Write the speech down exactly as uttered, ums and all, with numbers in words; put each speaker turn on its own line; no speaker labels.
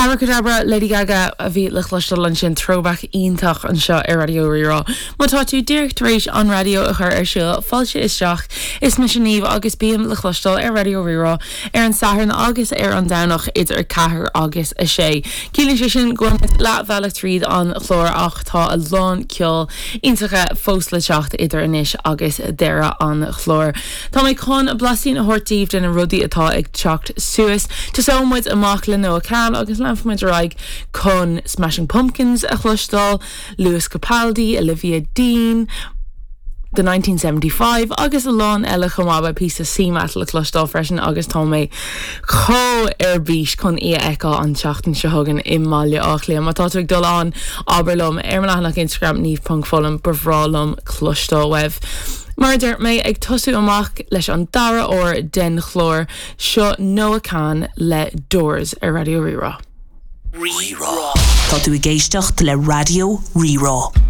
Abracadabra Lady Gaga a bhí le cloisteáil ansin throwback iontach anseo ar Raidió Rí-Rá. Má tá tú díreach tar éis an raidió a chur ar siúl fáilte isteach is mise Niamh agus bím le cloisteáil ar Raidió Rí-Rá ar an Satharn agus ar an Domhnach idir ceathair agus a sé. Ciallaíonn sé sin go leathbhealach tríd an chlár ach tá a lán ceol iontach fós le teacht idir anois agus deireadh an chláir. Tá mé chun blaisín a thabhairt daoibh de na rudaí atá ag teacht suas. Tosóidh muid amach le Noah Kahan agus leanfaimid ar aghaidh chun Smashing Pumpkins a chloisteáil, Lewis Capaldi, Olivia Dean, The nineteen seventy five agus a lán eile chomh maith píosa C-metal le cloisteáil freisin agus tá mé chomh ar bís chun í a fheiceáil an tseachtain seo chugainn i mBaile Átha Cliath. Má tá tú ag dul ann abair liom ar mo leathanach Instagram niamh.foghlaim ba bhreá liom cloisteáil uaibh. Mar a deir mé ag tosú amach leis an dara huair den chlár seo Noah Kahan le Doors ar Raidió Rí-Rá.
Rí-Rá. Tá tú ag éisteacht le Raidió Rí-Rá.